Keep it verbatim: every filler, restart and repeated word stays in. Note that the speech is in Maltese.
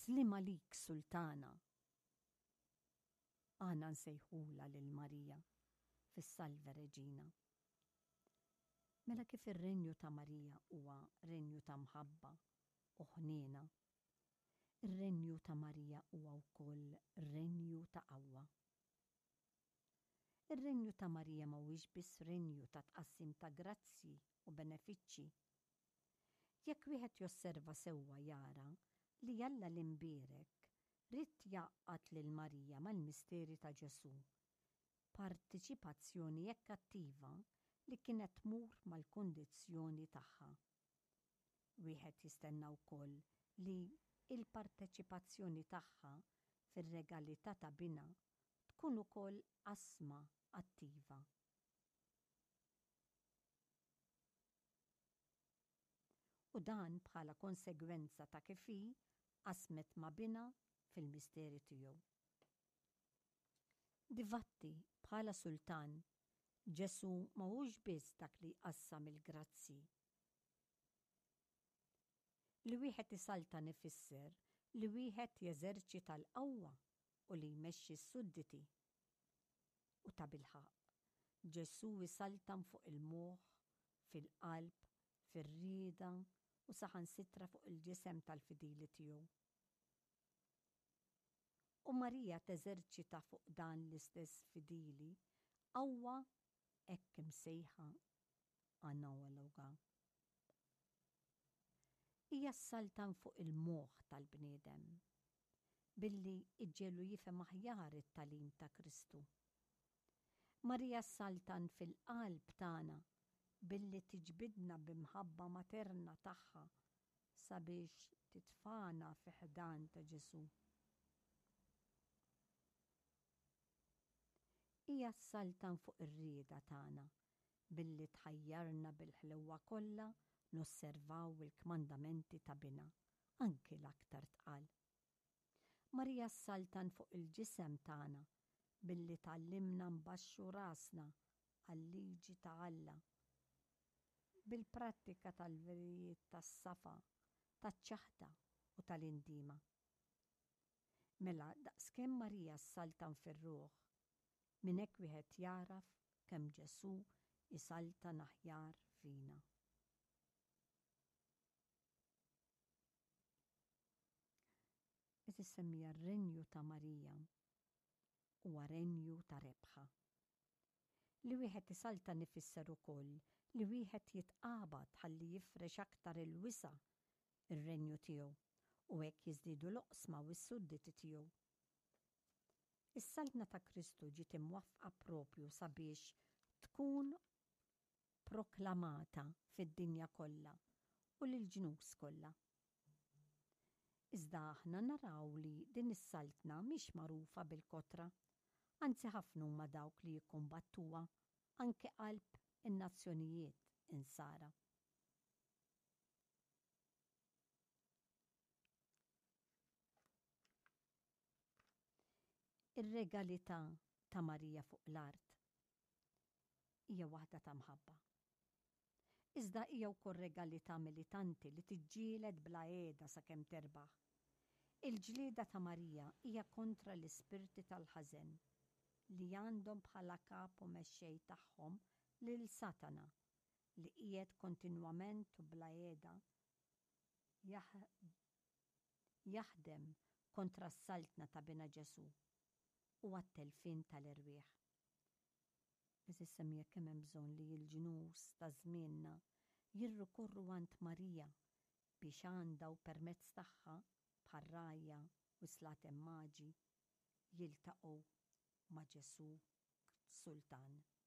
Sliem għalik, Sultana. Aħna nsejħulha lil Marija fis-Salve Regina. Mela kif ir-renju ta' Marija huwa renju ta' mħabba u ħniena, ir-renju ta' Marija huwa wkoll renju ta' qawwa. Ir-renju ta' Marija mhuwiex biss renju ta' tqassim ta' grazzji u benefiċċji. Jekk wieħed josserva sewwa jara li Alla l-imbierek ried jgħaqqad lil Marija mal-misteri ta' Ġesù, partiċipazzjoni hekk attiva li kienet tmur mal-kundizzjoni tagħha. Wieħed jistenna wkoll li il-parteċipazzjoni tagħha fir-regalità ta' binha tkun ukoll qasma attiva. U dan bħala konsegwenza ta' kif hi qasmet ma' binha fil-misteri tiegħu. Difatti, bħala sultan, Ġesù mhuwiex biss dak li jqassam il-grazzi. Li wieħed isaltan ifisser li wieħed jeżerċita l-qawwa u li jmexxi s-sudditi. U tabilħaqq, Ġesù jsaltan fuq il-moħħ, fil-qalb, fir-rieda u saħansitra fuq il-ġisem tal-fidili tiegħu. U Marija teżerċita fuq dan l-istess fidili qawwa hekk imsejħa analoga. Hija ssaltan fuq il-moħħ tal-bniedem billi iġġegħlu jifhem aħjar it-tagħlim ta' Kristu. Marija ssaltan fil-qalb tagħna billi tiġbidna b'imħabba materna tagħha sabiex titfagħna fi ħdan ta' Ġesù. Hija ssaltan fuq ir-rieda tagħna billi tħajjarna bil-ħlewwa kollha nosservaw il-kmandamenti ta' binha, anki l-aktar tqal. Marija ssaltan fuq il-ġisem tagħna billi tgħallimna nbaxxu rasna għal-liġi ta' Alla bil-prattika tal-verijiet tas-safa, taċ-ċaħda u tal-indiema. Mela daqskemm Marija ssaltan fir-ruħ, minn hekk wieħed jaraf kemm Ġesù jsaltan aħjar fina. Qed issemmija r-renju ta' Marija huwa renju ta' rebħa. Li wieħed isaltan ifisser ukoll li wieħed jitqabad ħalli jifrex aktar il-wisa' ir-renju tiegħu u hekk jiżdiedu l-oqsma u s-sudditi tiegħu. Is-saltna ta' Kristu ġiet imwaffqa propju sabiex tkun proklamata fid-dinja kollha u lill-ġnus kollha. Iżda aħna naraw li din is-saltna mhix magħrufa bil-kotra, anzi ħafna huma dawk li jikkumbattuha anke qalb in-nazzjonijiet insara. Ir-regalità ta' Marija fuq l-art hija waħda ta' mħabba. Iżda hija wkoll regalità militanti li tiġġieled bla heda sakemm terbaħ. Il-ġlieda ta' Marija hija kontra l-ispirti tal-ħażen li għandhom bħala kap u mexxej tagħhom lil Satana li qiegħed kontinwament u bla heda jaħdem kontra s-saltna ta' Binha Ġesù u għat-telfien tal-erwieħ. Għeżież semmiegħa, kemm hemm bżonn li l-ġnus ta' żmienna jirrikorru għand Marija biex għandha u permezz tagħha, bħar-rgħajja u s-slaten maġi, jiltaqgħu ma' Ġesù Sultan.